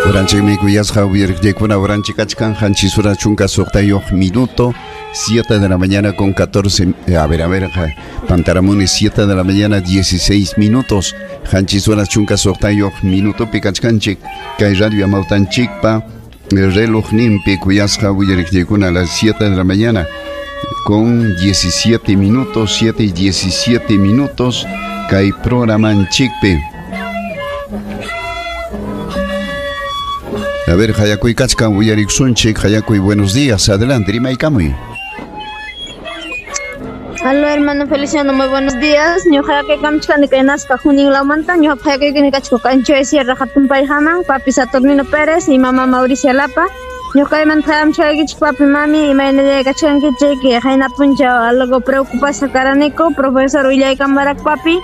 Uranchikmi kuyasqa uyariqllaykuna uranchik kachkan qanchis horas chunka suqtayuq minuto, 7 de la mañana con 14, a ver, pantaramuni, 7 de la mañana 16 minutos, qanchis horas chunka suqtayuq minutopi kachkanchik kay radio Amawtanchikpa relojninpi kuyasqa uyariqllaykuna, a las 7 de la mañana con 17 minutos, 7 y 17 minutos kay programanchikpi. A ver, Hayakuy kachkan, uyariksunchik. Hayakuy, buenos días, adelante, rimaykamuy. Aló, hermano Feliciano, muy buenos días. Ñuqa kamchkani kay Nazca Junín lawmanta. Ñuqa hayakuykini kachko Cancho Sierra Hatunpayhaman, papi Saturnino Pérez y mamá Mauricia Lapa. Ñuqaymanta hayamchkaykichik, papi, mami, imaynalla kachkankichik. Qayna punchaw algo preocupasqa karaniku, profesor willaykamurak, papi.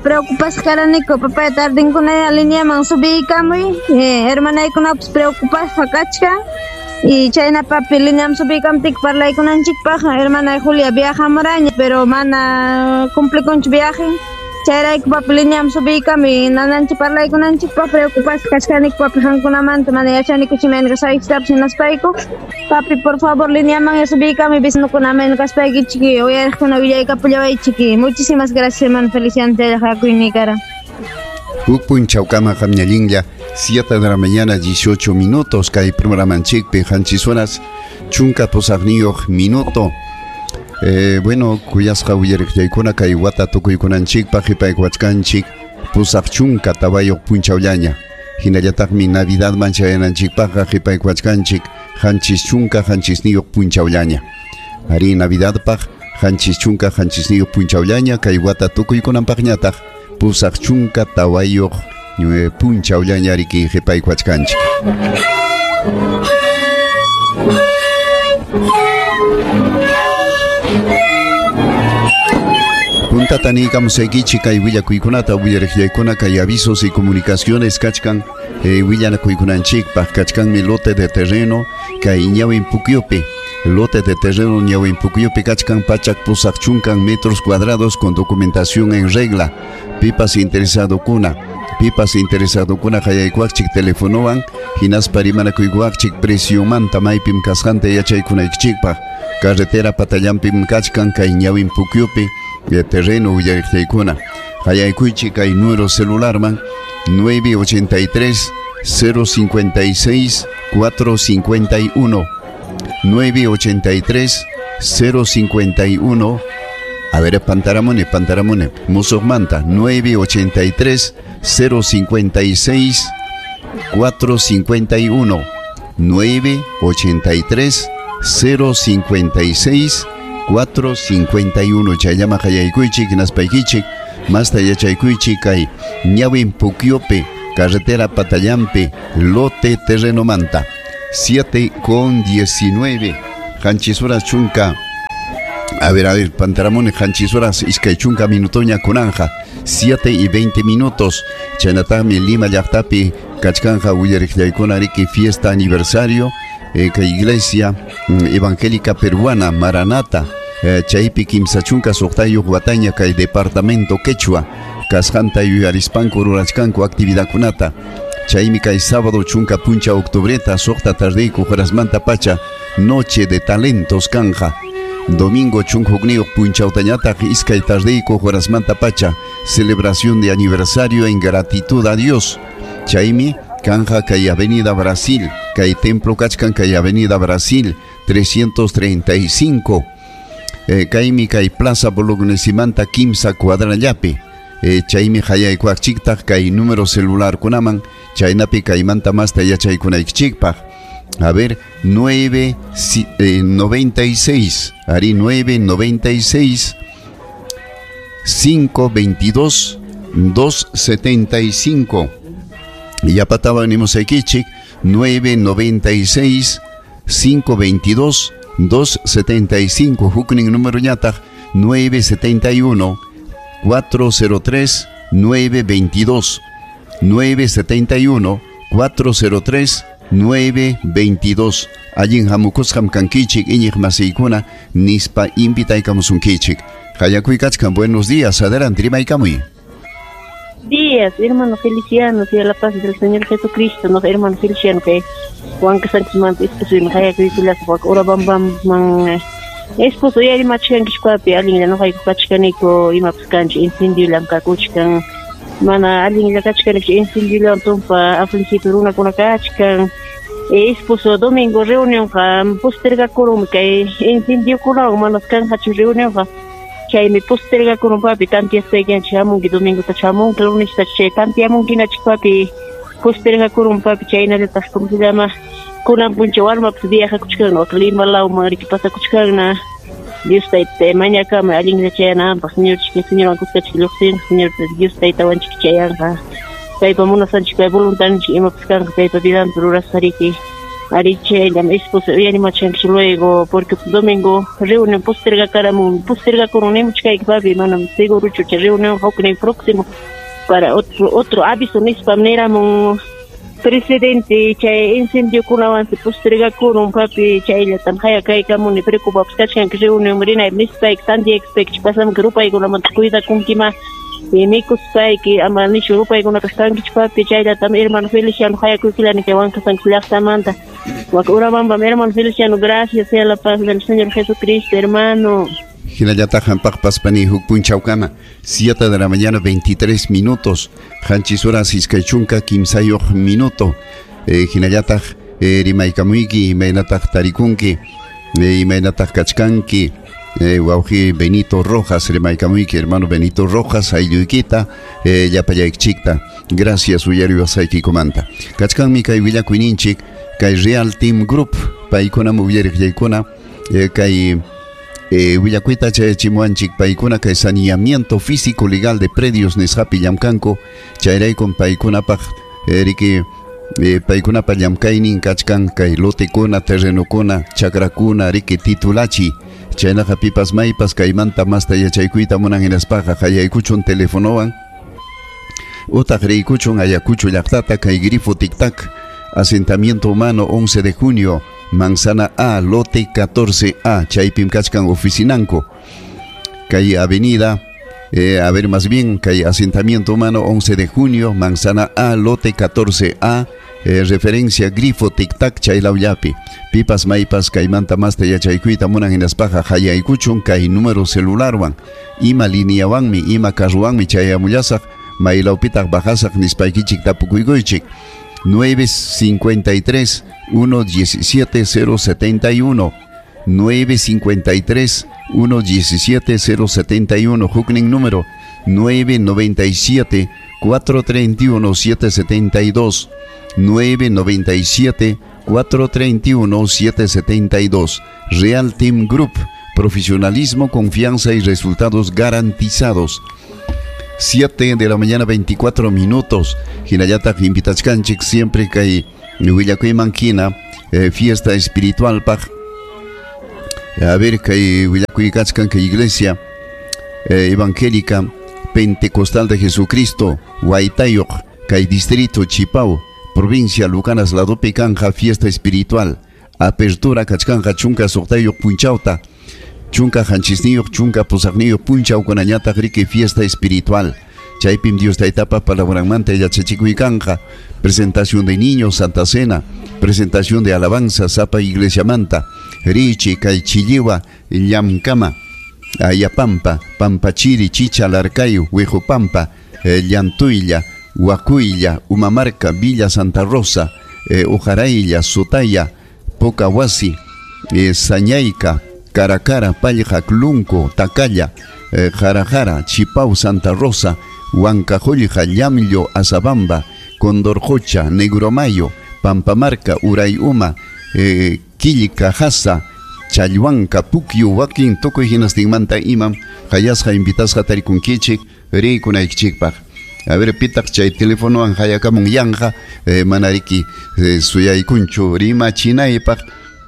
Preocupasqa karaniku, papá, tardinkuna lineaman subiykamuy. Hermanaykunapas preocupasqa kachkan. Y chayna, papi, lineam subiykamtik parlaykunanchikpaq. Hermana Julia viajamuraña, pero mana cumplikunchu viaje. Chayrayku, papi, lineam subiykamuy nananchik parlaykunanchikpaq. Preocupasqa kachkaniku, papi, qamkunamanta, mana yachanikuchu imayna kasqaykichiktapas hinaspayku. Papi, por favor, lineaman subiykamuy, vecinokuna mayna kaspaykichik uyariqkuna willaykapullawaychik. Muchísimas gracias, hermano Feliciano, chaylla kara. Huk punchawkama qamñallinlla, 7 de la mañana 18 minutos kay programanchikpi, qanchis horas chunka pusaqniyuq minuto. Bueno, kuyasqa uyariqllaykuna, kay wata tukuykunanchikpaq qipaykuwachkanchik 84 punchawllaña. Hinallataqmi Navidadman chayananchikpaqqa qipaykuwachkanchik 77 punchawllaña. Ari, Navidadpaq 77 punchawllaña, kay wata tukuykunanpaqñataq 84 punchawllaña riki qipaykuwachkanchik. Puntata niykamusaykichik kay willakuykunata, uyariqllaykuna, kay avisos y comunicaciones kachkan willanakuykunanchikpaq. Kachkanmi lote de terreno kay Ñawin Pukyupi. Lote de terreno Ñawin Pukyupi kachkan 180 metros cuadrados con documentación en regla. Pipas interesadokuna, pipas interesadokuna hayaykuwaqchik telefonowan hinaspa rimanakuykuwaqchik preciomanta maypim kasqanta yachaykunaykichikpaq. Carretera patallanpim kachkan kay Ñawin Pukyupi de terreno, uyariqllaykuna. Hayaykuychik kay número celularman 983 056 451, 983 051. A ver, pantaramune, pantaramune, musuqmanta 983 056 451, 983 056 451. Chayllama hayaykuychik hinaspaykichik masta yachaykuychik kay Ñawin Pukyupi carretera patallampi lote terrenomanta. 7 con 19, qanchis horas chunka. A ver, pantaramune, qanchis horas iskay chunka minutoña kunanja, 7 y 20 minutos. Chaynataqmi Lima llaqtapi kachkanja, uyariqllaykuna, riki fiesta aniversario kay iglesia evangélica peruana Maranata. Chaypi 36 wataña kay departamento quechua kasqanta yuyarispanku rurachkanku actividadkunata. Chaymi kay sábado 10 puncha octubreta 6 tardeyku horasmanta pacha noche de talentos kanja. Domingo 11 punchawtañataq 2 tardeyku horasmanta pacha celebración de aniversario en gratitud a Dios. Chaymi kanja kay Avenida Brasil, kay templo kachkan kay Avenida Brasil 335. Kaymi kay Plaza Bolognesimanta 3 cuadrallapi. Chaymi hayaykuwaqchiktaq kay número celular kunaman chaynapi kaymanta masta yachaykunaykichikpaq. A ver, 9 96, ari, 9 96 522 275. Yapataba nimusaykichik 996 522 275. Huknin número ñataq 971 403 922, 971 403 922. Allin hamukusqam kankichik, iñiq masiykuna, nispa invitaykamusunkichik. Hayakuy kachkan, buenos días, adelante, rimaykamuy. días, hermano Feliciano, sea la paz del Señor Jesucristo, no hermano Feliciano que Juan Sánchez man esposo y haya que Urabamba man esposo yari machkankish papi allinlla ñuqayku kachkaniku imapas kanchik incendiolam kakuchkan mana allinlla kachkaniku incendiolam tumpa afligido runakuna kachkan esposo domingo reunionqa postergakurunmi kay incendiokunawan manas kanqachu reunionqa chaymi postergakurun papi tantiaspaykianchik hamunki domingota chamunki lunesta chay tantiamunkinachik papi postergakurun papi chaynallataq como se llama kunan puncha warmapas viajakuchkan wak Lima lawman riki pasakuchkanna Dios tayta mañakama allinlla chayananpaq señorchik señorwan kuskachik lluqsinqa señor Dios taytawanchik chayanqa paypa munasqanchik pay voluntadninchik imapas kanqa paypa vidanpi rurasqa riki ari chayllam esposo uyarimachkanchik luego porque domingo reunión postergakaramun postergakurun nimuchkayki papi manam segurochu chay reunión huknin próximo para otro aviso nispam niramun presidente chay incendiokunawansi postergakurun papi chayllatam hayakaykamuni preocupapas kachkanki reunión rinaypi nispayki tantiyakuspayki pasamunki rupaykunamanta cuidakunkima mikuspayki ama nishu rupaykunapas kankichu papi chayllatam hermano Feliciano hayakuykillani kay Huancasanchis llaqtamanta wak Urabambam hermano Feliciano, gracias, sea la paz del Señor Jesucristo, hermano. Hinallataq hampaqpas pani huk punchawkama 7 de la mañana 23 minutos qanchis horas iskay chunka kimsayuq minuto hinallataq rimaykamuyki imaynataq tarikunki imaynataq kachkanki wawqi Benito Rojas rimaykamuyki hermano Benito Rojas aylluykita llapallaykichikta gracias uyariwasqaykikumanta kachkanmi kay willakuyninchik kay Real Team Group paykunam uyariqllaykuna kay willakuyta chayachimuwanchik paykuna kay saneamiento físico legal de predios nisqapi llamkanku chayraykum paykunapaq riki paykunapa llamkaynin kachkan kay lotekuna terrenokuna chakrakuna riki titulachi chaynaqa pipas maypas kaymanta masta yachaykuyta munan hinaspaqa qayaykuchun telefonowan utaq riykuchun Ayacucho llaqtata kay grifo tic-tac asentamiento humano 11 de junio Manzana A, lote 14A, chaypim kachkan oficinanco kay avenida, a ver más bien, kay asentamiento humano 11 de junio, Manzana A, lote 14A, referencia grifo tic-tac chaylawllapi pipas maypas kaymanta masta yachaykuyta munan hinaspaqa hayaykuchun kay número celularwan ima lineawanmi ima carruwanmi chayamullasaq maylawpitaq bajasaq nispaykichik tapukuykuychik 953 117 071 953 117 071 huknin número 997 431 772 997 431 772 Real Team Group, profesionalismo, confianza y resultados garantizados. 7 de la mañana 24 minutos. Hinallataq invitachkanchik siempre kay willakuyman hina fiesta espiritual paq. A ver kay willakuy kachkan kay iglesia evangélica pentecostal de Jesucristo Huaytayuq kay distrito Chipao provincia Lucanas ladopi kanja fiesta espiritual apertura kachkanja chunka suqtayuq punchawta chunka qanchisniyuq chunka pusaqniyuq punchawkunañataq riki fiesta espiritual chaypim Dios taytapa palabranmanta yachachikuy kanja presentación de niños Santa Cena presentación de alabanza sapa iglesiamanta richi kay chilliwa llamkama Ayapampa, Pampachiri, Chicha, Larcayo, Huejopampa, Llantuylla, Huacuylla, Umamarca, Villa Santa Rosa, Ujarailla, Sotaya, Pocahuasi, Sañaica, Caracara, Pallja, Clunco, Tacalla, Jarajara, Chipau, Santa Rosa, Huancajollja, Llamllo, Azabamba, Condorjocha, Negromayo, Pampamarca, Urayuma, Quillca, Jasa, Chalhuanca, Puquio, wakin tukuy hinastinmanta imam hayasqa invitasqa tarikunkichik riykunaykichikpaq. A ver, pitaq chay telefonowan hayakamun yanqa mana riki suyaykunchu rimachinaypaq.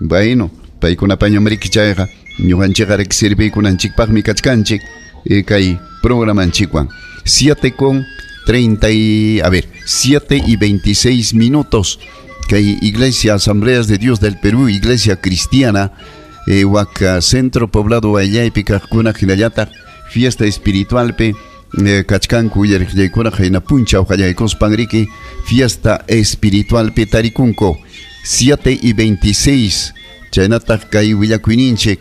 Bueno, paykunapañam riki chayqa ñuqanchikqa riki sirviykunanchikpaqmi kachkanchik kay programanchikwan. 7 y 26 minutos. Kay Iglesia Asambleas de Dios del Perú, Iglesia Cristiana, wak Centro Poblado Huayllaypi kaqkuna hinallataq fiesta espiritualpi Kachkanku uyariqllaykuna qayna punchaw qallaykuspan riki fiesta espiritualpi tarikunku. 7:26 chaynataq kay willakuyninchik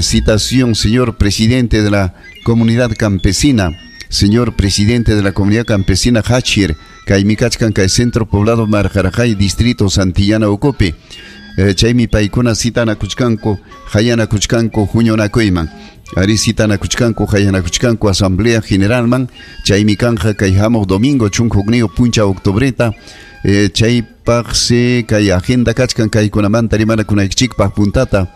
citación, señor presidente de la comunidad campesina, señor presidente de la comunidad campesina Hachir, kaymi kachkan kay centro poblado Marjarajay, distrito Santillana ukupi. Chaymi paykuna citanakuchkanku, hayanakuchkanku huñunakuyman. Ari citanakuchkanku, hayanakuchkanku asamblea generalman, chaymi kanja kay hamuq domingo chunka hukniyuq punchaw octubreta, chaypaqsi kay agenda kachkan kaykunamanta rimanakunaykichikpaq puntata.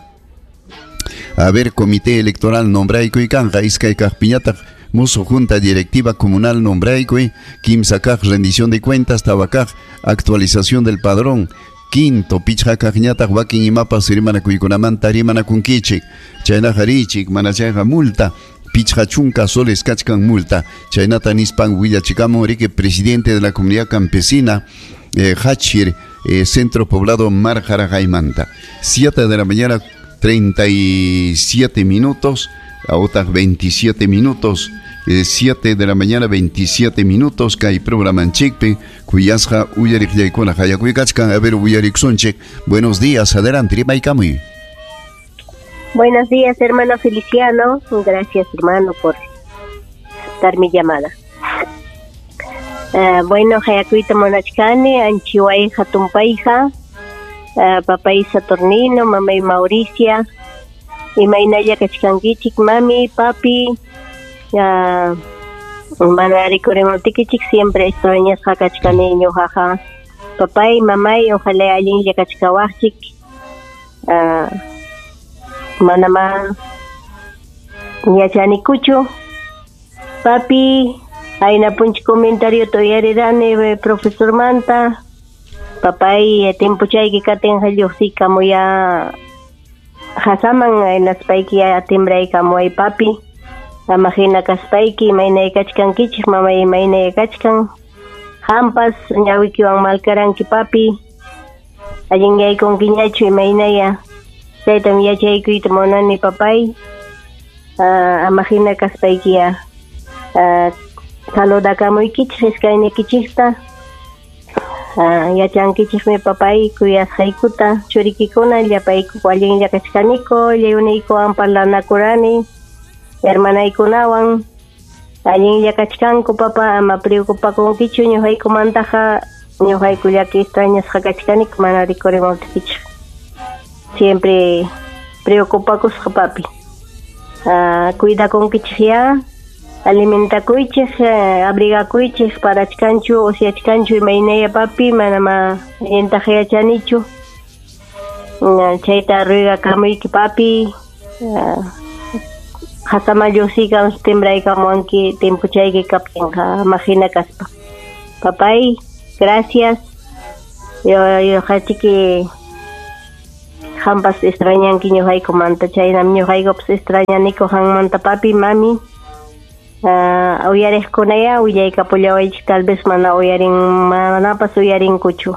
A ver, comité electoral nombraykuy kanja, iskay kaqpiñataq musuq junta directiva comunal nombraykuy, kimsa kaq rendición de cuentas, tawa kaq actualización del padrón, quinto pichqa kaqñataq wakin imapas rimanakuykunamanta rimanakunkichik, chaynaqa riychik mana chayqa multa, pichqa chunka soles kachkan multa, chaynata nispan willachikamun riki presidente de la comunidad campesina Hachir, centro poblado Marjarajay-manta. 7 de la mañana 37 minutos, a otras 27 minutos, 7 de la mañana 27 minutos, kay programanchikpi, kuyasqa uyariqllaykuna hayakuykachkan, a ver uyariksunchik. Buenos días, adelante, rimaykamuy. Buenos días, hermano Feliciano. Gracias, hermano, por dar mi llamada. Bueno, hayakuyta munachkani, anchiwayja tumpayja, papay Saturnino, mamay Mauricia, imaynalla kachkankichik, mami, papi, mana rikurimuptikichik siempre extrañasqa kachkani ñuqaqa. Papay, mamay, ojalá allinlla kachkawaqchik. Manama yachanikuchu. Papi, ayna punch comentario uyarirani profesor manta. Papay, timpuchayki katinqa lluqsikamuya hasaman aynaspayki timbraykamuway papi. Ama hina kaspayki imaynay kachkankichik, mamay imaynay kachkan. Hampas ñawikiwan malkaranki papi. Allinyaykunkiñachu imaynaya. Chaytam yachaykuyta munani papay. Ama hina kaspaykiya saludakamuykichik iskaynikichikta. Yachankichikmi papay kuyasqaykuta churikikuna llapayku allinlla kachkaniku lliwniykuwan parlanakurani hermanaykunawan allinlla kachkanku papa, ama preocupakunkichu ñuqaykumantaqa, ñuqayku llaki extrañasqa kachkaniku mana rikurimuptikichik. Siempre preocupakusqa papi. Cuidakunkichik ya, alimentakuychik, abrigakuychik, parachkanchu, usyachkanchu imaynaya papi, manama allintaqa yachanichu. Chayta ruegakamuyki papi. Hasama lluqsikam timbraykamuwanki timpuchayki kaptinqa ama hina kaspa. Papay, gracias. Ñuqachiki hampas extrañanki ñuqaykumanta, chaynam ñuqaykupas extrañaniku qanmanta papi, mami. Uyariqkunaya willaykapullawaychik, tal vez mana uyarin, manapas uyarinkuchu.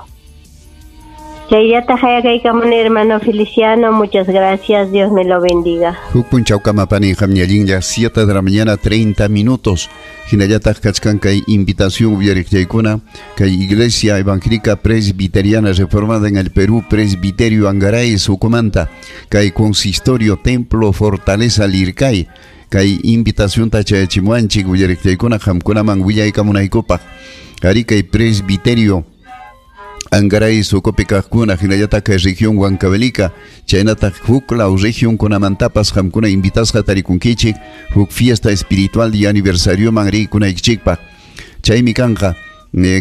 Chayllata hayakaykamuni hermano Feliciano, muchas gracias, Dios me lo bendiga. Huk punchawkama pani qamñallinlla, 7 de la mañana 30 minutos. Hinallataq kachkan kay invitación uyariqllaykuna kay Iglesia Evangélica Presbiteriana Reformada en el Perú, Presbiterio Angaray Sucumanta, kay Consistorio Templo Fortaleza Lircay, kay invitación tachayachimuanchik uyariqllaykuna qamkunaman willaykamunaykupaq. Ari kay Presbiterio Angaray sukupi kaqkuna hinallataq kay región Huancavelica, chaynataq huk law región kunamantapas qamkuna invitasqa tarikunkichik huk fiesta espiritual y aniversarioman rikunaykichikpaq. Chaymi kanqa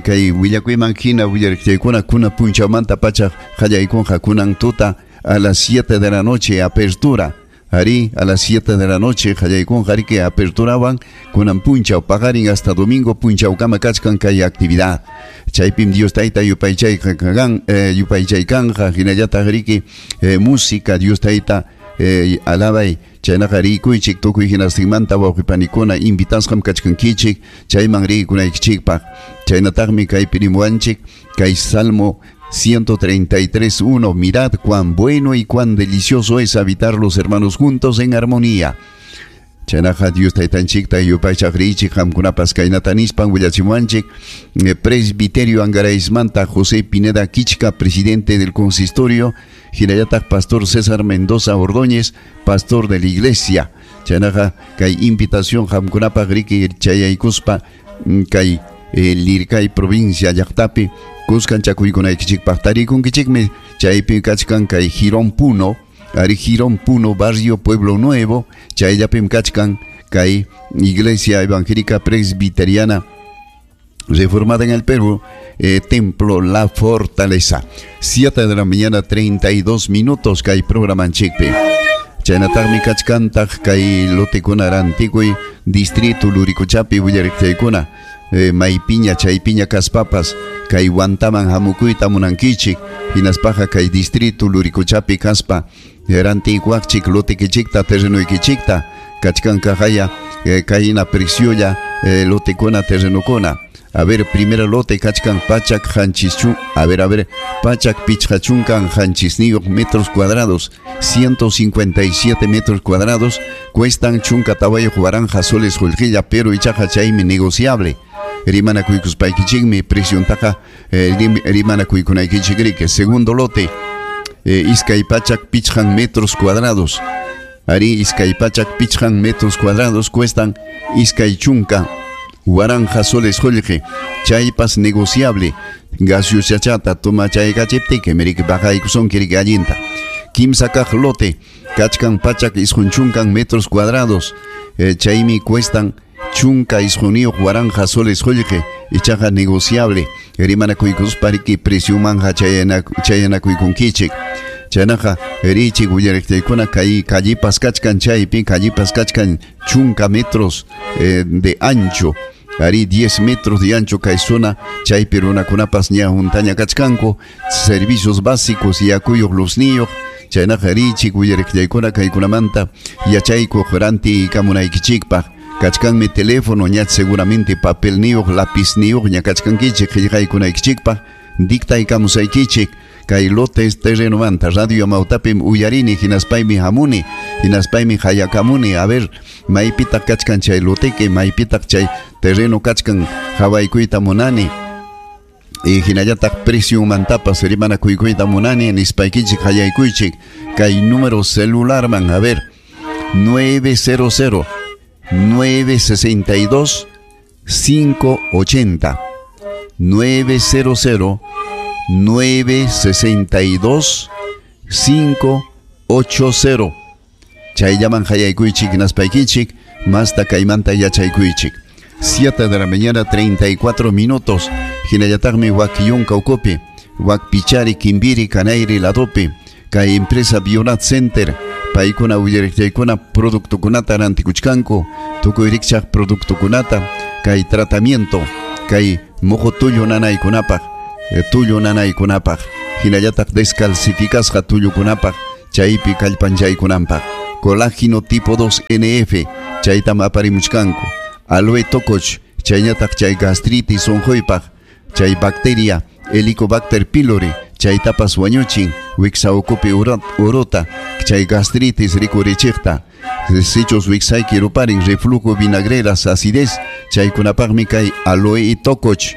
kay willakuyman hina willariqllaykuna kuna punchawmanta pacha qallaykunqa kunan tuta a las 7 de la noche apertura. Ari a las 7 de la noche qallaykunqa riki aperturawan kunan punchaw paqarin hasta domingo punchawkama kachkan kay actividad. Chaypim Dios tayta yupaychaykanja hinallataq riki música Dios tayta alabay chaynaqa rikuychik tukuy hinastinmanta wawqipanikuna invitasqam kachkankichik chayman rikunaykichikpaq. Chaynataqmi kaypi rimuwanchik kay Salmo 133:1, mirad cuán bueno y cuán delicioso es habitar los hermanos juntos en armonía. Chaynaqa Dios taytanchikta yupaychaq riychik qamkunapas kaynata nispan willachimuwanchik Presbiterio Angaraismanta José Pineda Kichka, presidente del consistorio, hinallataq Pastor César Mendoza Ordóñez, pastor de la iglesia. Chaynaqa kay invitación qamkunapaq riki chayaykuspa kay Lircay provincia llaqtapi kuskanchakuykunaykichikpaq tarikunkichikmi chaypi kachkan kay Girón Puno, ari Girón Puno, barrio Pueblo Nuevo, chayllapim kachkan kay Iglesia Evangélica Presbiteriana Reformada en el Perú, Templo La Fortaleza. 7 de la mañana, 32 minutos, kay programanchikpi. Chaynataqmi kachkantaq kay lotekuna rantikuy distrito Luricochapi willariqchaykuna maypiña chaypiña kaspapas kay Huantaman hamukuyta munankichik hinaspaqa kay distrito Luricochapi kaspa rantikuaqchik lotekichikta terrenoykichikta kachkankaqaya kayna preciolla lotekuna terrenokuna. A ver, primero lote kachkan pachak hanchischun, a ver, pachak pichqachunkan hanchisniyuq metros cuadrados, 157 metros cuadrados, cuestan chunka tawayuq waranqa soles qullqilla, pero ichaqa chaymi negociable. Rimanakuykuspaykichikmi preciontaqa rimanakuykunaykichik riki. Segundo lote, iskay pachak pichqan metros cuadrados, ari iskay pachak pichqan metros cuadrados, cuestan iskay chunka waranqa soles qullqi, chaypas negociable. Gaseosachata toma chaykachiptiki miriki baqaykusunki riki allinta. Kimsa kaq lote kachkan pachak isqun chunkan metros cuadrados, chaymi cuestan chunka isquniyuq waranqa soles qullqi, ichaqa negociable. Rimanakuykuspa riki preciomanja chayanakuykunkichik. Chaynaqa richik willariqchaykuna kay callipas kachkan chaypi, callipas kachkan chunka metros de ancho, ari 10 metros de ancho kay zona chaypi runakunapas ña huntaña kachkanku, servicios básicos yakuyuq luzniyuq. Chaynaqa richik willariqchaykuna kaykunamanta yachaykuq ranti kamunaykichikpaq. Kachkanmi teléfono ña seguramente papelniyuq lapizniyuq ña kachkankichik qillqaykunaykichikpaq dictaykamusaykichik kay lotes terrenomanta. Radio Amautapim uyarini hinaspaymi hamuni hinaspaymi hayakamuni. A ver, maypitaq kachkan chay loteke, maypitaq chay terreno kachkan hawaykuyta munani, hinallataq preciomantapas rimanakuykuyta munani nispaykichik hayaykuychik kay número celularman. A ver, 900 962 580, 900 962 580. Chayllaman hayaykuychik hinaspaykichik masta kaymanta yachaykuychik. 7 de la mañana 34 minutos. Hinallataqmi wak yunka ukupi, wak pichari kimbiri kanayri ladopi kay empresa Bionat Center paykuna willariqchaykuna productokunata rantikuchkanku, tukuy rikchaq productokunata kay tratamiento kay muhu tullu nanaykunapaq, tullu nanaykunapaq, hinallataq descalcificasqa tullukunapaq chaypi kallpanchaykunanpaq. Colágeno tipo 2 NF chaytam aparimuchkanku. Aloe tokoch chaynataq chay gastritis unquypaq, chay bacteria Helicobacter pylori chaytapas wañuchin wiksa ukupi urota chay gastritis rikurichiqta. Sichus wiksayki ruparin reflujo vinagreras acidez chaykunapaqmi kay aloe y tokoch.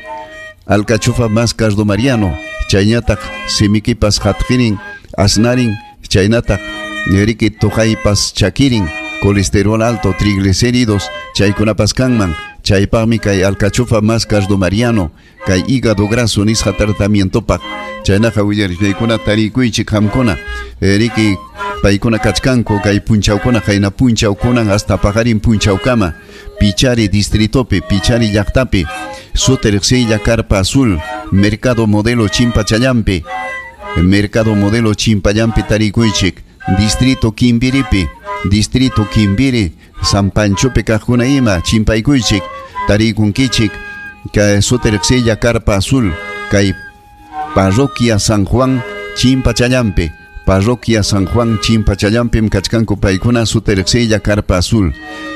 Alcachofa más cardomariano chaynataq simikipas hatqirin asnarin chaynataq riki tuqaypas chakirin colesterol alto triglicéridos chaykunapas kanman. Chaypaqmi kay alcachofa más cardomariano kay hígado graso nisqa tratamientopaq. Chaynaqa willariqchaykuna tarikuychik qamkuna riki paykuna kachkanku kay punchawkuna qayna punchawkunan hasta paqarin punchawkama Pichari distritopi, Pichari llaqtapi, suti riqsiylla Carpa Azul, Mercado Modelo Chimpachallampi, Mercado Modelo Chimpallampi tarikuychik, Distrito Kimbiripi, Distrito Kimbiri, San Panchopi kaqkuna ima chimpaykuychik, tarikunkichik kay suti riqsiylla Carpa Azul, kay Parroquia San Juan Chimpachallampi, Parroquia San Juan Chimpachallampim kachkanku paykuna suti riqsiylla Carpa Azul.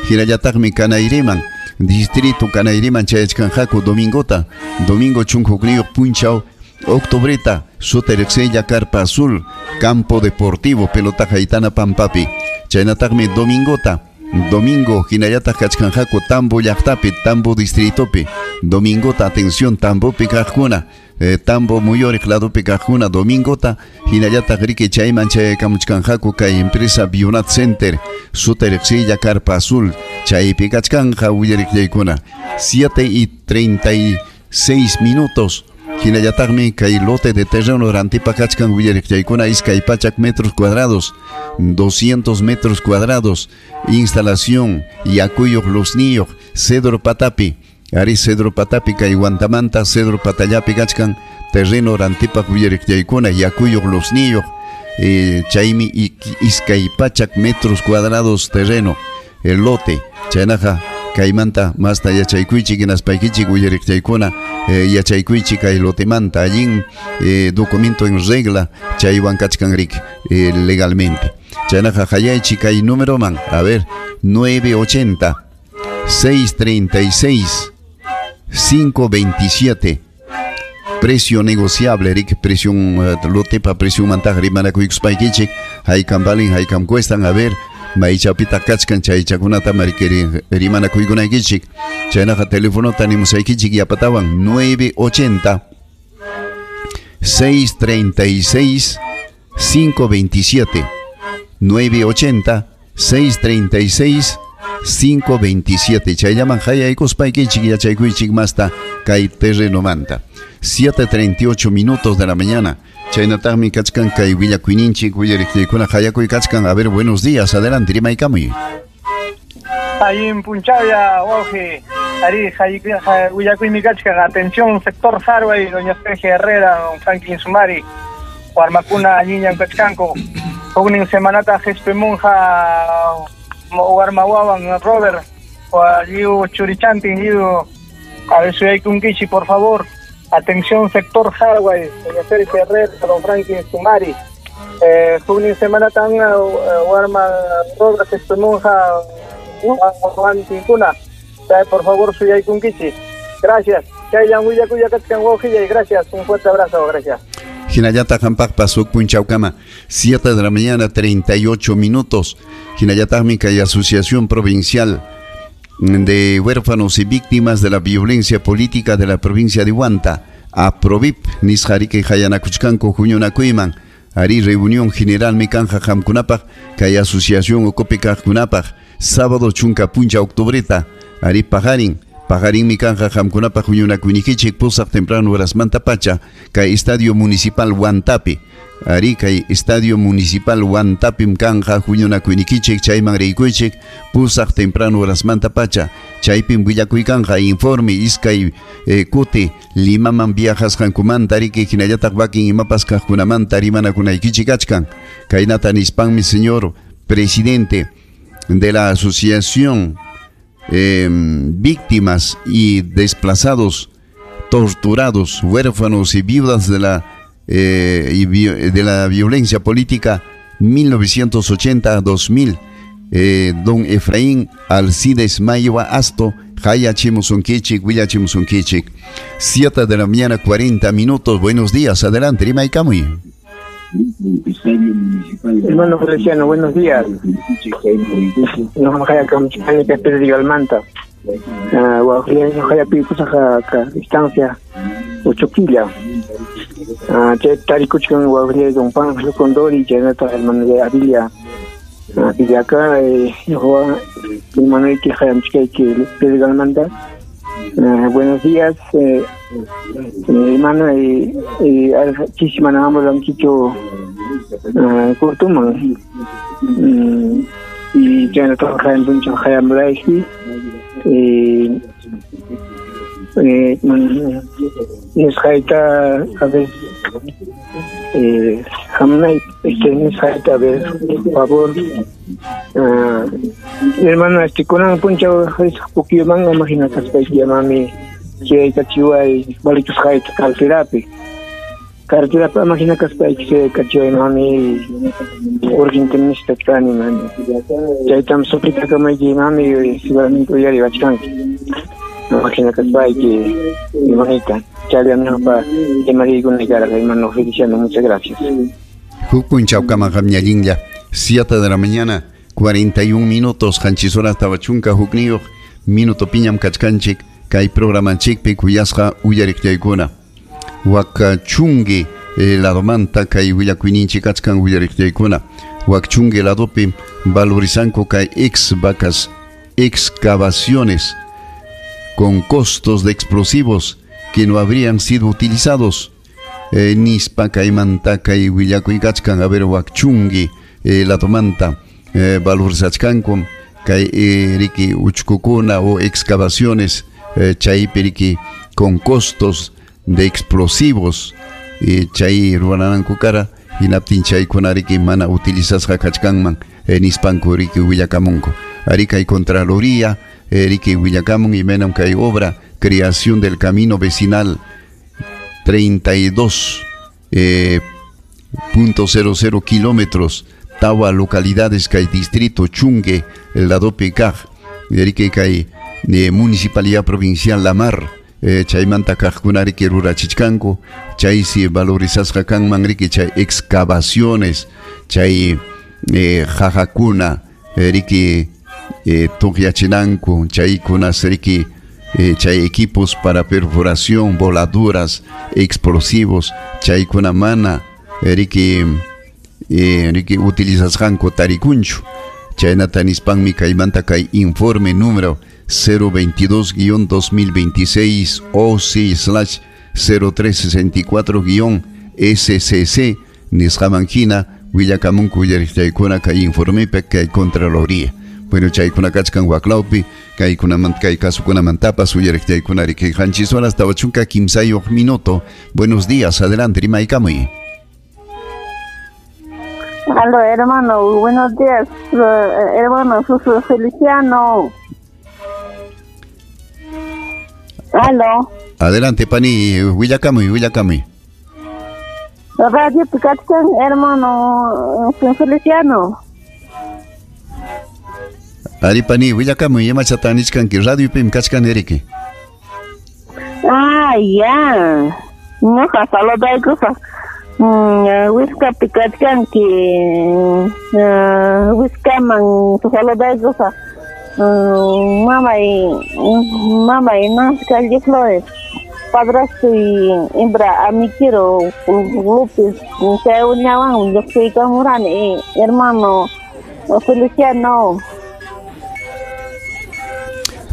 Hinallataqmi Kanayriman, Distrito Kanayriman chayachkanqaku domingota, domingo chunka hukniyuq punchaw octubreta, suti riqsiylla Carpa Azul, Campo Deportivo Pelota Haitana Pampapi. Chaynataqmi domingota Domingo hinallataq kachkanqaku Tambo llaqtapi, Tambo distritopi. Domingota, atención, Tambopi kaqkuna, Tambo muyuriq ladopi kaqkuna, domingota hinallataq riki chayman chayakamuchkanqaku kay empresa Bionat Center, suta riqsilla Carpa Azul, chaypi kachkanja willariqllaykuna. 7:36. Hinallataqmi kay lote de terreno rantipa kachkan willariqllaykuna iskay pachak metros cuadrados, 200 metros cuadrados, instalación yakuyuq luzniyuq, Cedro Patapi, ari Cedro Patapi kay Huantamanta Cedro Patallapi kachkan terreno rantipaq willariqllaykuna yakuyuq luzniyuq, chaymi iskay pachak metros cuadrados terreno, el lote, chaynaqa kaymanta masta yachaykuychik hinaspaykichik willariqllaykuna, yachaykuychik kay lotemanta allin documento en regla chaywan kachkan riki legalmente. Chaynaqa hayaychik kay numeroman, a ver, 980 636 527. Precio negociable, Rick, precio lotepa, precio mantaj rimanakuykuspaykichik, haykam valin, haykam cuestan, a ver, maychapita kachkan chaychakunata marikeri rimanakuykunaykichik. Chaynaqa telefonota nimusaykichik yapatawan 980 636 527, 980 636 527. Chayllaman hayaykuspaykichik yachaykuychik masta kay terrenomanta. 7:38 de la mañana. Chaynataqmi kachkan kay willakuyninchik willariqllaykuna hayakuy kachkan. A ver, buenos días, adelante, rimaykamuy. Allin punchaya, wawqi, ari willakuymi kachkan. Atención, sector Harvey, doña Sergio Herrera, don Franklin Sumari, warmakuna allinllam kachkanku. Huknin semanata qhispimunqa warmawawan Robert, lliw churichantin, lliw a ver suyaykunkichik, por favor. Atención, sector Harvey, doña Sergio Herrera, don Franklin Sumari. Huknin semanata warma Robert qhispimunqa wawantinkuna. Por favor, suyaykunkichik. Gracias. Chayllan willakuya kachkan wawqillay. Gracias. Un fuerte abrazo. Gracias. Hinallataq hampaqpas huk punchawkama, 7 de la mañana, 38 minutos. Hinallataqmi kay Asociación Provincial de Huérfanos y Víctimas de la Violencia Política de la provincia de Huanta, APROVIP, nisqariki hayanakuchkanku huñunakuyman, ari reunión general mikanja hamkunapaq, kay asociación ukupi kaqkunapaq, sábado chunka puncha octubreta, ari paqarin, paqarin mikanja hamkunapaq huñunakuynikichik pusaq temprano horasmanta pacha, kay Estadio Municipal Huantapi, ari kay Estadio Municipal Huantapim kanja huñunakuynikichik chayman riykuychik pusaq temprano horasmanta pacha, chaypim willakuykanja informe iskay kuti Limaman viajasqankumanta riki hinallataq wakin imapas kaqkunamanta rimanakunaykichik kachkan. Kaynata nispanmi señor presidente de la asociación víctimas y desplazados, torturados, huérfanos y viudas de la violencia política 1980-2000, don Efraín Alcides Maywa Asto, hayachimusunkichik, willachimusunkichik. 7 de la mañana, 40 minutos. Buenos días, adelante, rimaykamuy. Hermano Feliciano, buenos días. Distancia 8 killa. Tarikuchkan wawqillay don Pánfilo Condori, chaynata hermano de Avilia. Acá hermano que hayamchikayki Pedro Galmanta. Buenos días, hermano, chismanamos lanquicho kurtuman. Y chaynata hayampuncha hayamlayki. Nisqayta a ver, hamnay nisqayta a ver, por favor. Hermano, kunan punchaw pukiyuman imagina kaspayki mami chaykachiway walikusqayta carterapi. Carterapi imagina kaspayki chaykachiway mami urgente necesitachkani mami. Chaytam suplitakamayki mami seguramente uyariwachkanki. Imagina kaspayki imanita. Chayllañuqpa imariykunaykarqa hermano Feliciano, muchas gracias. Huk punchawkama qamñallinlla, 7 de la mañana, 41 minutos, qanchis horas 40 hukniyuq minuto piñam kachkanchik kay programanchikpi kuyasqa uyariqllaykuna. Wakchungi ladomanta kay willakuyninchik kachkan uyariqllaykuna. Wakchungi ladopi valorizanku kay ex vacas excavaciones con costos de explosivos que no habrían sido utilizados. Nispa kaymanta kay willakuy kachkan, a ver, wakchungi ladomanta valorizachkanku kay riki uchkukuna o excavaciones chaypi riki con costos de explosivos chay ruwananku kara hinaptin chaykuna riki mana utilizasqa kachkanman nispanku riki willakamunku. Ari kay Contraloría riki willakamun imaynam kay obra creación del camino vecinal 32.00 kilómetros tawa localidades kay distrito Chungue ladopi kaq riki kay municipalidad provincial La Mar chaymanta kaqkuna riki rurachichkanku chaysi valorizasqa kanman riki chay excavaciones chay jajakuna riki tuqyachinanku chaykunas riki chay equipos para perforación, voladuras, explosivos chaykuna mana riki utilizasqanku tarikunchu. Chaynata nispanmi kaymanta kay informe número 022-2026 OC/0364-SCC nisqaman hina willakamunku uyariqchaykuna kay informepi kay Contraloría. Bueno, chaykuna kachkan waklawpi kaykunamanta kay kasukunamantapas uyariqchaykuna riki qanchis horas 43 minuto. Buenos días, adelante, rimaykamuy. Aló, hermano, buenos días, hermano Susu Feliciano. Aló. Adelante, pani, willakamuy, willakamuy. Radio Picachán, hermano Feliciano. Ari, pani, willakamuy, imachatanichkanki, radio pim kachkan eriki. Ah, ya. Ñuqa saludaykusaq. Wiskapi kachkanki, wiskaman saludaykusaq. Mamay Nancy Calle Flores, padrastro y hembra Amikiro López, chayunawan lluqsiykamurani, hermano Feliciano.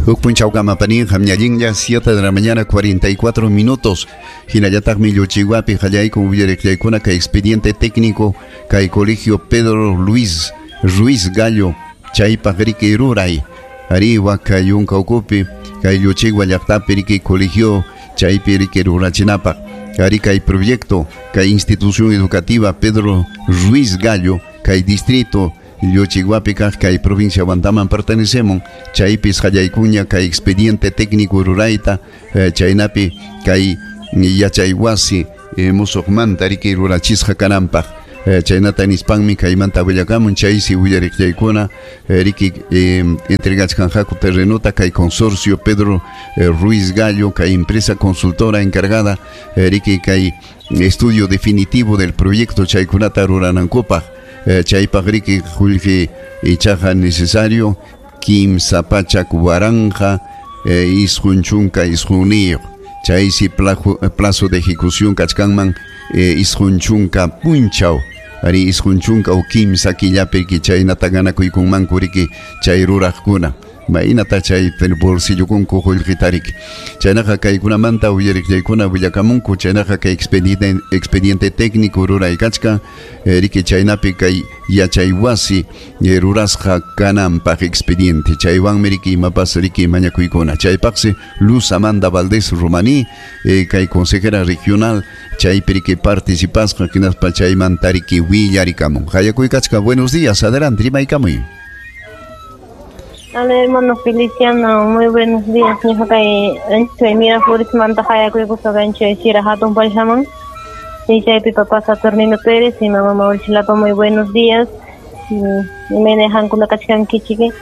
Huk punchawkama pani, qamñallinlla, 7 de la mañana 44 minutos. Hinallataqmi Lluchihuapi qallaykun uyariqllaykuna kay expediente técnico kay colegio Pedro Luis Ruiz Gallo chaypaq riki ruray. Ari waka yunka ukupi kay Lluchihua llaqtapi riki colegio chaypi riki rurachinapaq. Ari kay proyecto kay institución educativa Pedro Ruiz Gallo kay distrito Lluchihuapi kaq kay provincia Huantaman pertenecemos chaypis qallaykuña kay expediente técnico rurayta chaynapi kay yachaywasi musuqmanta riki rurachisqa kananpaq. Chaynata nispanmi kaymanta willakamun chaysi willariqllaykuna riki entregachkanqaku terrenota kay consorcio Pedro Ruiz Gallo kay empresa consultora encargada riki kay estudio definitivo del proyecto chaykunata ruranankupaq. Chaypaq riki qullqi ichaqa necesario 3 pachak 1000 99 chaysi plazo de ejecución kachkanman 90 punchaw ari 90 o 3 killapi chaynata ganakuykunmanku riki chay ruraqkuna Mainata chay bolsillukunku qullqitariki. Chaynaqa kaykunamanta uyariqllaykuna willakamunku chaynaqa kay expediente técnico ruraykachkan riki chaynapi kay yachaywasi rurasqa kananpaq expediente chaywanmi riki imapas riki mañakuykuna. Chaypaqsi Luz Amanda Valdés Romaní kay consejera regional chaypi riki participasqa hinaspa chaymanta riki willarikamun. Hayakuykachka, buenos días, adelante, rimaykamuy. Hola, hermano Feliciano, muy buenos días. Ñuqa Miraflores manta hayakuykusqa kanchik Sierra Hatun Pallhaman. Chaypi papá Saturnino Pérez y mamá Mauricio Lapa, muy buenos días. Imayna hankuna kachkankichik.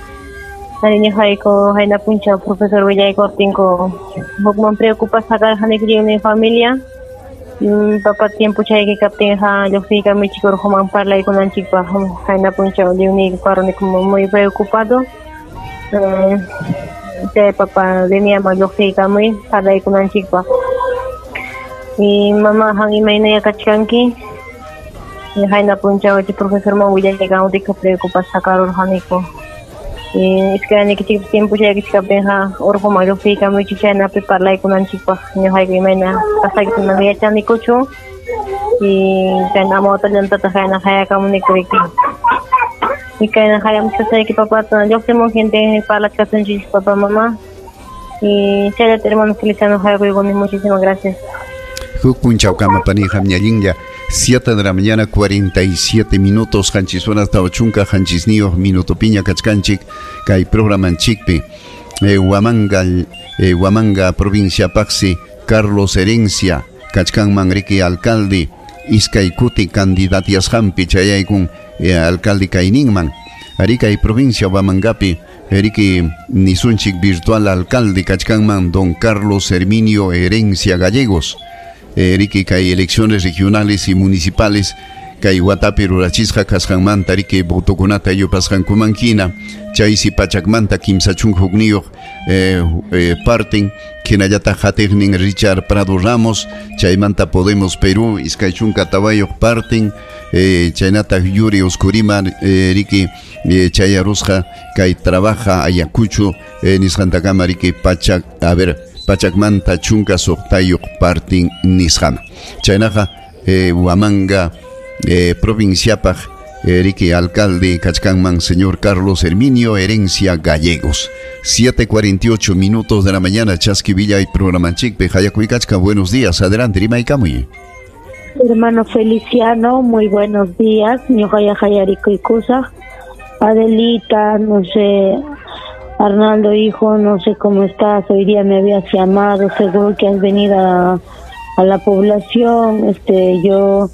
Ari ñuqayku hayna punchaw profesor willaykuwaptinku hukman preocupasqa karqaniku lliwnin familia. Papa tiempo chayki kaptinqa lluqsiykamuchik urquman parlaykunanchikpaq qayna punchaw lliwniyku karuni como muy preocupado. Chay papa diniaman lluqsiykamuy parlaykunanchikpaq. Y mamá han imaynaya kachkanki. Qayna punchaw chay profesorman willaykamuptiyqa preocupasqa karurqaniku. Iskaynikichikpas tiempo chaykichkaptinqa urquman lluqsiykamuychik chaynapi parlaykunanchikpaq ñuqayku imayna kasqaykita mana yachanikuchu. Y kayna amawtallantataq kayna qayakamuniku riki. Y kayna qayamuchkasqayki papata lluqsimun gente parlachkasunchik papá mamá. Y chayllata hermano Feliciano qayakuykuni, muchísimas gracias. Huk punchawkama panija ñallinlla 7 de la mañana 47 minutos qanchis horas 40 qanchisniyuq minutopiña kachkanchik kay programanchikpi Huamanga Huamanga provincia paqsi Carlos Herencia kachkanman riki alcalde iskay kuti candidatiasqanpi chayaykun alcalde kayninman ari kay provincia Huamangapi riki nisunchik virtual alcalde kachkanman don Carlos Herminio Herencia Gallegos. Riki kay elecciones regionales y municipales kay watapi rurachisqa kasqanmanta riki votokunata yupasqankuman hina chaysi pachakmanta 31 hukniyuq parten hinallataq hatiqnin Richard Prado Ramos chaymanta Podemos Perú 24 parten chaynataq Yuri Oscurima riki chayarusqa kay trabaja Ayacucho nisqantakama riki pachak a ver pachakmanta 16 partin nisqama chaynaqa Huamanga provinciapaq riki alcalde kachkanman señor Carlos Herminio Herencia Gallegos. 7:48 minutos de la mañana, Chaski Villa y programanchikpi Hayakuycachka, buenos días, adelante rimaykamuy. Hermano Feliciano, muy buenos días. Ñuqaya hayarikuykusaq. Adelita, no sé, Arnaldo hijo, no sé cómo estás, hoy día me habías llamado, seguro que has venido a la población, yo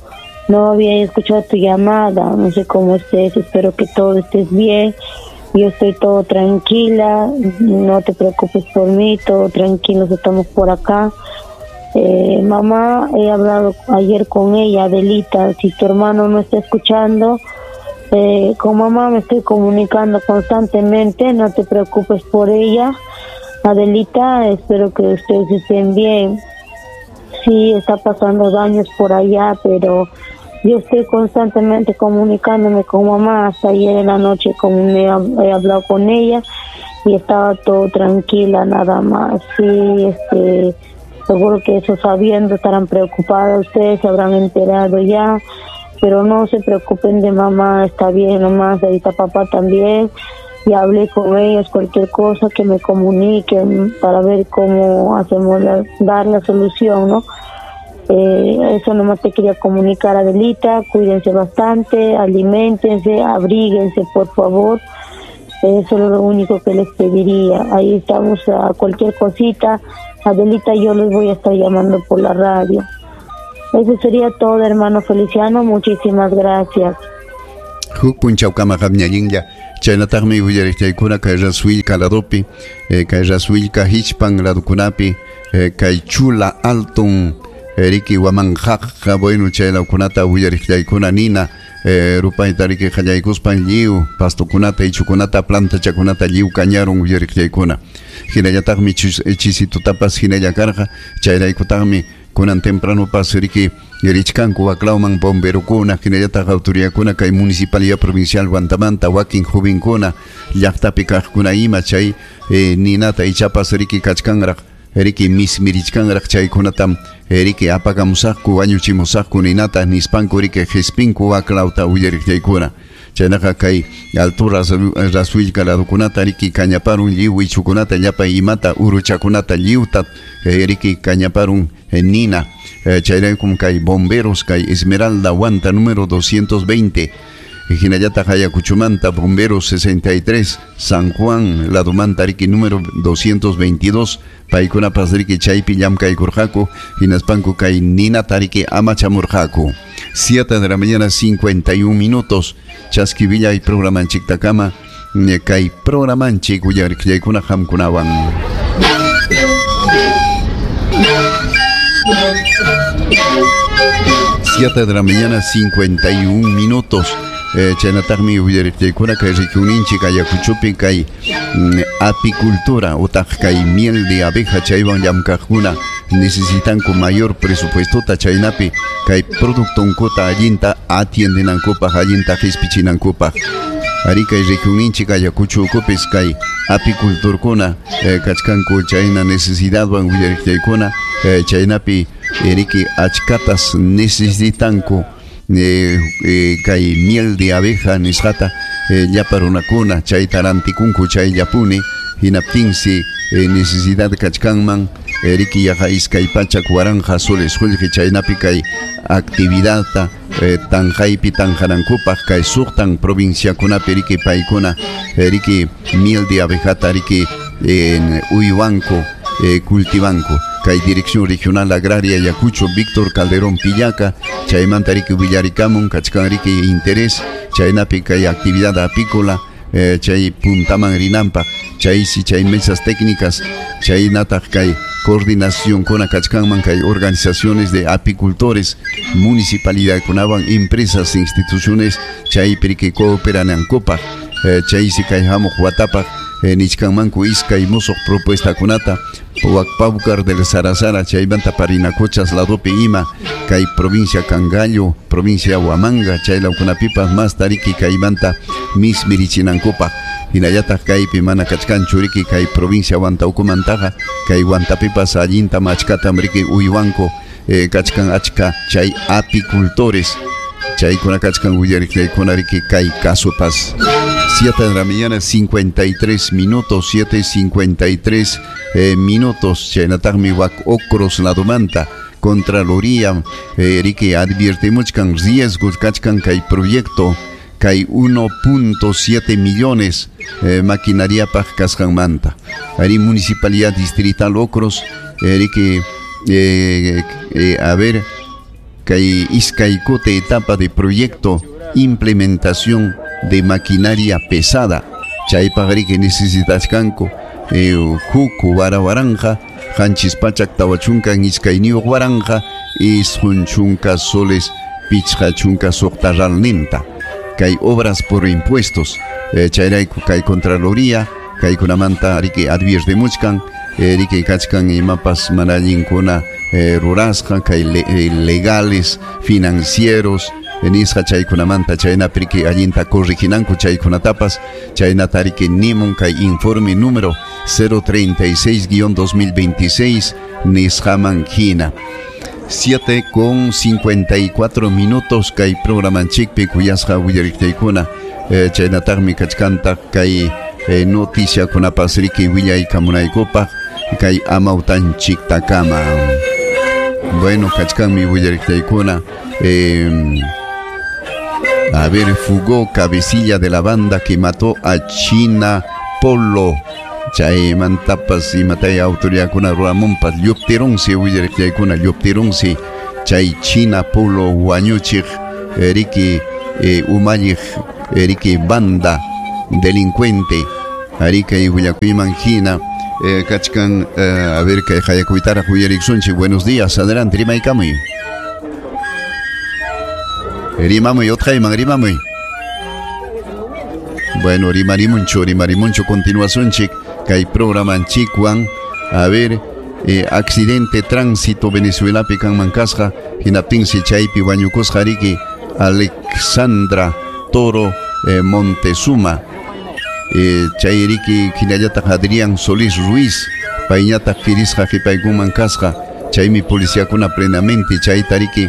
no había escuchado tu llamada, no sé cómo estés, espero que todo estés bien, yo estoy todo tranquila, no te preocupes por mí, todo tranquilos, estamos por acá. Mamá, he hablado ayer con ella, Adelita, si tu hermano no está escuchando, con mamá me estoy comunicando constantemente, no te preocupes por ella. Adelita, espero que ustedes estén bien. Sí, está pasando daños por allá, pero yo estoy constantemente comunicándome con mamá. Hasta ayer en la noche como me he hablado con ella y estaba todo tranquila, nada más. Sí, seguro que eso sabiendo estarán preocupados, ustedes se habrán enterado ya, pero no se preocupen de mamá, está bien nomás, ahorita papá también, ya hablé con ellos, cualquier cosa que me comuniquen para ver cómo hacemos dar la solución, ¿no? Eso nomás te quería comunicar, Adelita, cuídense bastante, aliméntense, abríguense, por favor. Eso es lo único que les pediría. Ahí estamos a cualquier cosita. Adelita, yo les voy a estar llamando por la radio. Eso sería todo, hermano Feliciano. Muchísimas gracias. Huk punchawkama qamñallinlla. Chaynataqmi willariqchaykuna kay Rasuillka ladopi, kay Rasuillka hichpan ladukunapi, kay Chula Alton, riki Huamanjaqqa, bueno, chay lawkunata willariqchaykuna nina, rupayta riki qallaykuspan lliw pastukunata, ichukunata, plantachakunata lliw kañarun willariqchaykuna. Hinallataqmi chisitutapas hinalla karqa, chayraykutaqmi kunan temprano pas riki richkanku waklawman bomberokuna, hinallataq autoridadkuna kay municipalidad provincial Huantamanta, wakin jovenkuna, llaqtapi kaqkuna ima chay ninata ichapas riki kachkanraq, riki mismirichkanraq chaykunatam riki apakamusaqku, wañuchimusaqku ninata nispanku riki qhispinku waklawta willariqchaykuna. Chaynaqa kay altura Rasuillka ladukunata riki kañaparun lliw ichukunata llapa imata uruchakunata lliwta riki kañaparun nina. Chayraykum kay bomberos kay Esmeralda Huanta número 220 hinallataq Ayacuchumanta bomberos 63 San Juan ladumanta riki número 222 paykunapas riki chaypi llamkaykurqaku hinaspanku kay ninata riki amachamurqaku. 7 de la mañana 51 minutos. Chaski Villa y programanchiktakama kay programanchik willariqllaykuna qamkunawan. 7 de la mañana, 51 minutos. Chaynataqmi uyariqtiykuna kay rikuninchik Ayacuchopi kay apicultura utaq kay miel de abeja chaywan llamkaqkuna necesitanku mayor presupuestota chaynapi kay productonkuta allinta atiendenankupaq allinta qispichinankupaq. Ari kay rikuninchik Ayacucho ukupis kay apicultorkuna kachkanku chayna necesidadwan uyariqtiykuna chaynapi riki achkatas necesitanku kay miel de abeja nisqata llapa runakuna chayta rantikunku chayllapuni hinaptinsi necesidad kachkanman riki yaqa iskay pachak waranqa soles qullqi chaynapi kay actividadta tanqaypi tanqanankupaq kay suqtan provinciakunapi riki paykuna riki miel de abejata riki uywanku cultivanku. Kay Dirección Regional Agraria Ayacucho Víctor Calderón Pillaca chaymanta riki willarikamun kachkan riki interés chaynapi kay actividad apícola chay puntaman rinanpaq chaysi chay mesas técnicas chaynataq kay coordinación kuna kachkanman kay organizaciones de apicultores municipalidadkunawan empresas instituciones chaypi riki cooperanankupaq chaysi kay hamuq watapaq nichkanmanku iskay musuq propuestakunata Paucar del Sarasara chaymanta Parinacochas ladopi ima kay provincia Cangallo provincia Huamanga chaylawkunapipas mas tariki kaymanta mismirichinankupaq hinallataq kaypi mana kachkanchu riki kay provincia Huantaukumantaqa kay Huantapipas allinta machkatam riki uywanku kachkan achka chay apicultores chaykuna kachkan willariqlaykuna riki kay kasupas. 7 de la mañana, 53 minutos, 7:53 minutos. Chaynataqmi wak Ocros ladomanta Contraloría riki adviertemuchkan riesgos kachkan kay proyecto kay 1.7 millones maquinariapaq kasqanmanta. Ari Municipalidad Distrital Ocros riki a ver kay iskay kuti etapa de proyecto implementación de maquinaria pesada chaypaq riki necesitachkanku huk warawaranja qanchis pachak tawa chunkan iskayniyuq waranqa isqun chunka soles pichqa chunka suqta ralninta kay obras por impuestos chayrayku kay Contraloría kaykunamanta riki adviertemuchkan riki kachkan imapas mana allinkuna rurasqa kay legales financieros nisqa chaykunamanta chaynapi riki allinta corriginanku chaykunatapas chaynata riki nimun kay informe número 036-2026 nisqaman hina. 7:54 minutos kay programanchikpi kuyasqa willariqtaykuna chaynataqmi kachkantaq kay noticiakunapas riki willaykamunaykupaq kay amawtanchiktakama. Bueno, kachkanmi willariqtaykuna a ver, fugó cabecilla de la banda que mató a China Polo. Chaymantapas imatay autoridadkuna ruramunpas lluptirunsi willariqtaykuna lluptirunsi chay China Polo wañuchiq riki umalliq riki banda delincuente arikay willakuyman hina kachkan a ver kay hayakuytaraq willariqsunchik. Buenos días, adelante, rimaykamuy. Rimamuy utqayman rimamuy. Bueno, rimarimunchu continuasunchik kay programanchikwan. A ver, accidente tránsito Venezuelapi kanman kasqa hinaptinsi chaypi wañukusqa riki Alexandra Toro Montezuma chay riki hinallataq Adrián Solís Ruiz payñataq kirisqa qhipaykunman kasqa chaymi policiakuna plenamente chayta riki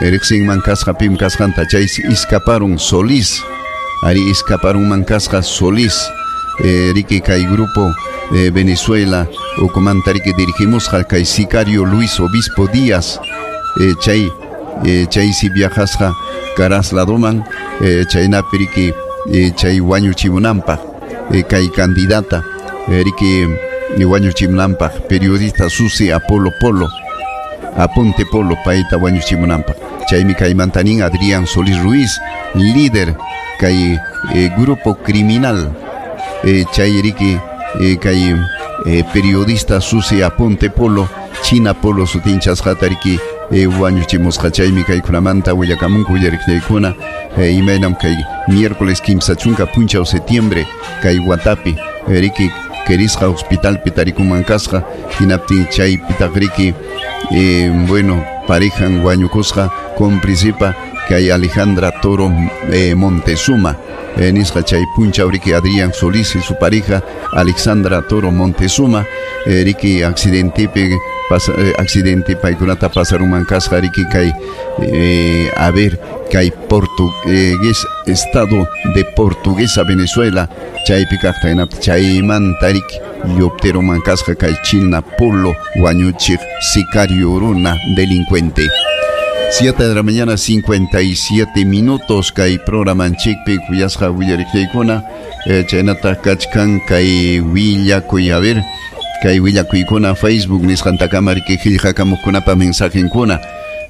riqsinman kasqa pim kasqanta chay escaparon Solís ari escaparon kasqa Solís riki kay grupo Venezuela ukumanta riki dirigimusqa kay sicario Luis Obispo Díaz chay chaysi viajasqa Caraz ladoman chaynapi riki chay wañuchimunanpaq kay candidata riki wañuchimunanpaq periodista Susi Apolo Polo Aponte Polo payta wañuchimunanpaq chaymi kaymanta nin Adrián Solís Ruiz líder kay grupo criminal chay riki kay periodista Susi Aponte Polo China Polo sutinchasqata riki Wañuchimusqa chaymi kaykunamanta willakamunku uyariqniykuna imaynam kay miércoles 30 punchaw septiembre kay watapi riki kerisqa hospitalpi tarikunman kasqa hinaptin chaypitaq riki bueno parejan wañukusqa cómplicipa kay Alejandra Toro Montezuma nisqa chay punchaw riki Adrián Solís y su pareja Alexandra Toro Montezuma riki accidentepi accidente paykunata pasarunman kasqa riki kay a ver kay portugués estado de Portuguesa Venezuela chaypi kaqta hinaptin chaymanta riki lluptiruman kasqa kay China Polo wañuchiq sicario runa delincuente. 7 de la mañana 57 minutos kay programanchikpi kuyasqa willariqniykuna chaynataq kachkan kay willakuy a ver kay willakuykuna Facebook nisqantakama riki qillqakamuqkunapa mensajenkuna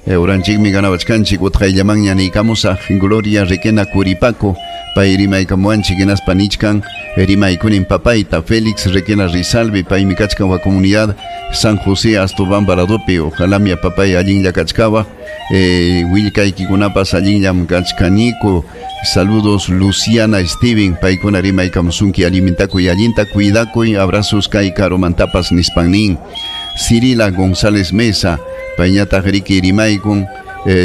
uranchikmi ganawachkanchik utqayllamanña niykamusaq Gloria Requena Curipaco pay rimaykamuwanchik hinaspa nichkan rimaykunin papayta Félix Requena Rizalvi paymi kachkan wa comunidad San José Astobamba ladopi ojalá mi papay allinlla kachkawa willkaykikunapas allinllam kachkaniku. Saludos Luciana Steven paykuna rimaykamusunki alimintakuy allinta cuidakuy abrazos kay karumantapas nispannin. Cirila González Mesa payñataq riki rimaykun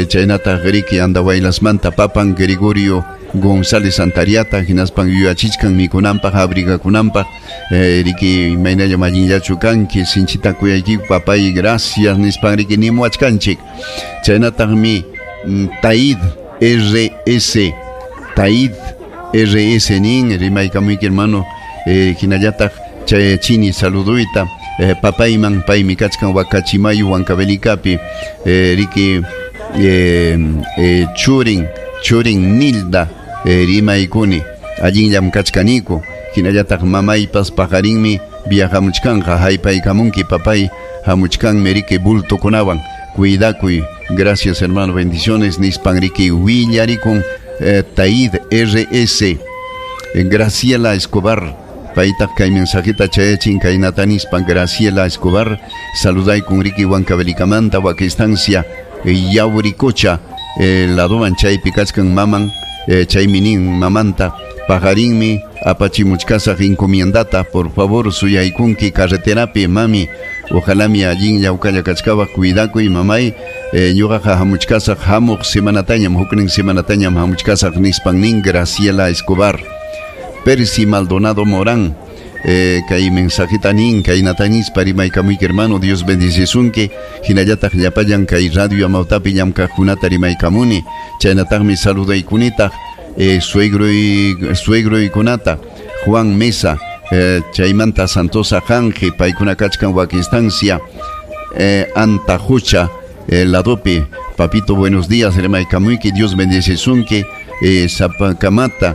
chaynataq riki Andahuaylasmanta papan Gregorio González Antariata hinaspan yuyachichkan mikunanpaq abrigakunanpaq riki imaynallam allinllachu kanki sinchita kuyaykiku papay gracias nispan riki nimuwachkanchik. Chaynataqmi Taid RS Taid RS nin rimaykamuyki hermano hinallataq chayachini saluduyta papayman paymi kachkan Huacachimayu Huancavelicapi riki churin Nilda rimaykuni allinllam kachkaniku hinallataq mamaypas paqarinmi viajamuchkanqa haypaykamunki papay hamuchkanmi riki bultokunawan cuidakuy gracias hermano bendiciones nispan riki willarikun Taid RS. Graciela Escobar paytaq kay mensajita chayachin kaynata nispan Graciela Escobar saludaykun riki Huancavelikamanta wak estancia Yauricocha ladoman chaypi kachkan maman chaymi nin mamanta paqarinmi apachimuchkasaq encomiendata por favor suyaykunki carreterapi mami ojalá mi allinlla uqalla kachkawaq cuidakuy mamay ñuqaqa hamuchkasaq hamuq semanatañam huknin semanatañam hamuchkasaq nispan nin Graciela Escobar. Percy Maldonado Morán kay mensajita nin kaynata nispa rimaykamuyki hermano Dios bendicisunki hinallataq llapallan kay radio Amawtapi llamkaqkunata rimaykamuni chaynataqmi saludaykunitaq suegroykunata Juan Mesa chaymanta Santosa Janje paykuna kachkan wak estancia Antajucha ladopi papito buenos días rimaykamuyki Dios bendicisunki sapakamata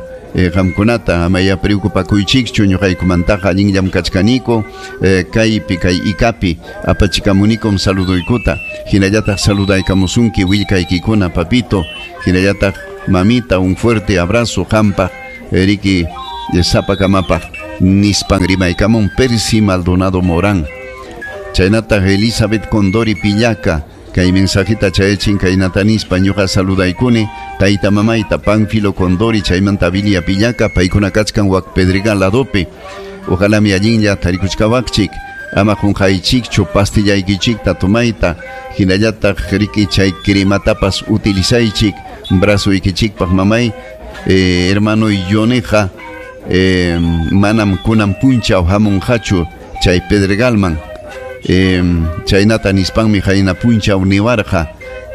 qamkunata amaya preocupakuychikchu ñuqaykumantaqa allinllam kachkaniku kaypi kay ikapi apachikamunikum saluduykuta hinallataq saludaykamusunki willkaykikuna papito hinallataq mamita un fuerte abrazo qampaq riki sapakamapaq nispan rimaykamun Percy Maldonado Morán. Chaynataq Elizabeth Condori Pillaca kay mensajita chayachin kaynata nispa ñuqa saludaykuni tayta mamayta Pánfilo Condori chaymanta Vilia Pillaca paykuna kachkan wak Pedregal ladopi ojalá mi allinlla tarikuchkawaqchik ama qunqaychikchu pastillaykichikta tomayta hinallataq riki chay crematapas utilizaychik brazoykichikpaq mamay hermano Yoneja manam kunan punchaw hamunqachu chay Pedregalman chaynata nispanmi qayna punchaw niwarqa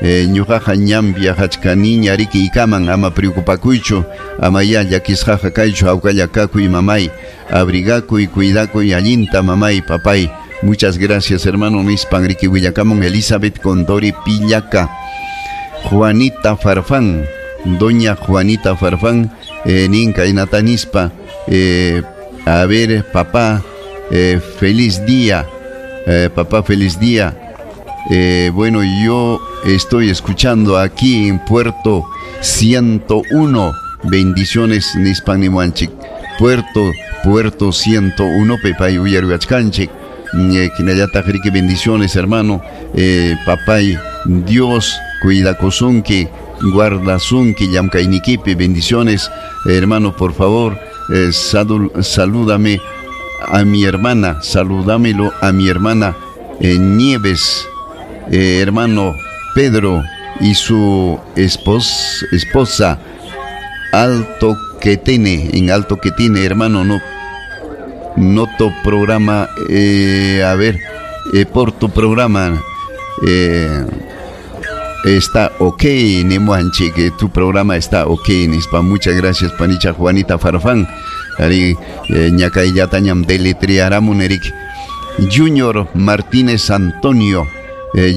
ñuqaqa ñam viajachkaniña riki ikaman ama preocupakuychu ama ya llakisqaqa kaychu hawkalla kakuy mamay abrigakuy cuidakuy allinta mamay papay muchas gracias hermano nispan riki willakamun Elizabeth Condori Pillaca. Juanita Farfán doña Juanita Farfán nin kaynata nispa a ver papá feliz día. Papá, feliz día. Bueno, yo estoy escuchando aquí en Puerto 101. Bendiciones, nispan nimuanchik. Puerto 101, pepay uyaruyachkanchik. Kinallataq riki bendiciones, hermano. Papay, Dios cuidakusunki, guardasunki llamkaynikipi. Bendiciones, hermano, por favor, salúdame a mi hermana, salúdamelo a mi hermana Nieves, hermano Pedro y su esposa Alto Quetene, en Alto Quetene, hermano, no noto programa, a ver, por tu programa está ok, Nemuanche, que tu programa está ok, nispa. Muchas gracias, panicha Juanita Farfán. Ari ñakayllatañam deletrearamun Eric. Junior Martínez Antonio.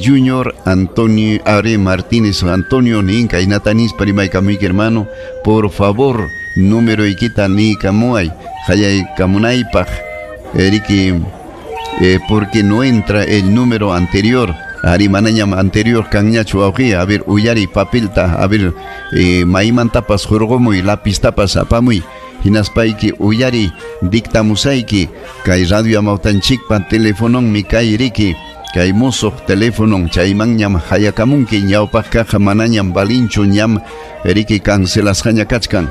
Junior Antonio Are Martínez Antonio ninka inatanis parimaykamuyki, hermano, por favor, número ikita ni kamuay hayay kamunaypaq, Eriki, porque no entra el número anterior. Ari manañam anterior kanñachu wawqi. A ver, uyari papelta, a ver, maymantapas hurqumuy, lapistapas apamuy, hinaspayki uyari dictamusayki. Kay radio amawtanchikpa telefononmi kay riki, kay musuq teléfonon, chaymanñam hayakamunki. Ñawpaq kaqqa manañam valinchu, ñam riki cancelasqaña kachkan.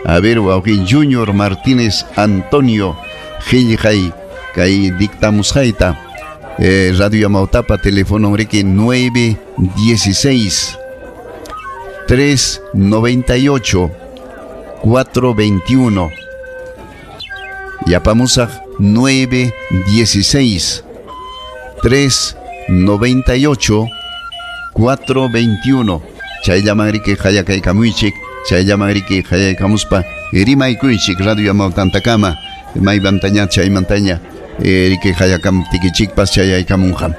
A ver, wawqi Junior Martínez Antonio, qillqay kay dictamusqayta. Radio Amautapa, teléfono riki 916 398 421. Yapamusaq 916 398 421. Chayllaman riki hayakaykamuychik, chayllaman riki hayaykamuspa rimaykuychik Radio Amautantakama, maymantaña chaymantaña riki hayakamtikichikpas chayaykamunqa.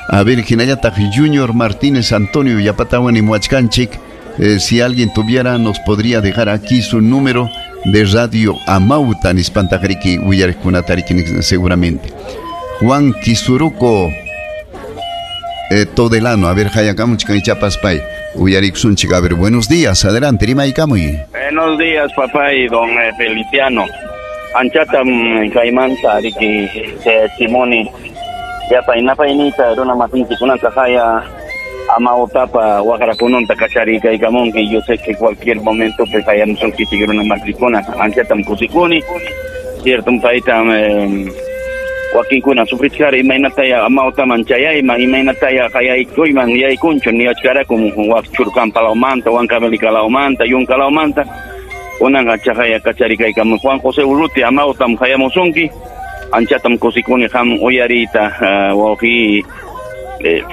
A ver, hinallataq Junior Martínez Antonio yapatawan nimuwachkanchik, si alguien tuviera nos podría dejar aquí su número de Radio Amauta nispantaq riki uyariqkunata riki seguramente. Juan Kisuruco Todelano, a ver, hayakamuchkan ichapas pay uyarikusunchik. A ver, buenos días, adelante, rimaykamuy. Buenos días, papá y don Feliciano. Anchatam kaymanta riki Simoni yapa inapaynita runa masinchikunata haya Amautapa waqrakununta kacharikaykamunki. Yo sé que cualquier momento pues hayamusunkichik runa masikuna. Anchatam kusikuni, cierto, paytam wakinkuna sufrichkara imaynataya Amautaman chayayman, imaynataya hayaykuyman yaykunchu niwachkaraku wak Churcampalawmanta, Huancavelica-lawmanta, Yunkalawmanta. Kunanqa chahaya kacharikaykamun. Juan José Urruti Amautam hayamusunki. Anchatam kusikuni qam uyariyta, wawqi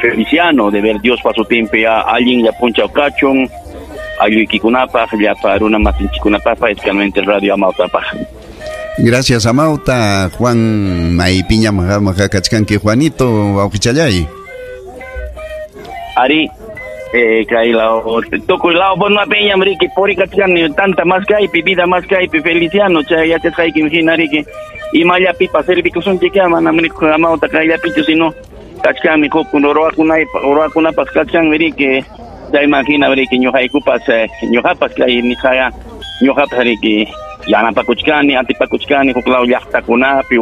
Feliciano, de ver Dios pasutinpi allinlla punchaw kachun aylluykikunapaq, llapa runa masinchikunapaq, especialmente Radio Amautapaq. Gracias, Amauta. Juan, maypiñam kachkanki, Juanito, wawqichallay. Ari, kay law tukuy law peñam riki purikachkani tanta más kaypi, vida más kaypi, Feliciano, chay yachasqaykim hina riki imallapipas servikusunchik, manam Amauta kayllapichu, sino kachkanmi huk ruwakunapas kachkanmi riki, chayman hina riki ñuqaykupas, ñuqapas kay nisqaya ñuqapas riki yanapakuchkani, antipakuchkani huk law llaqtakunapi.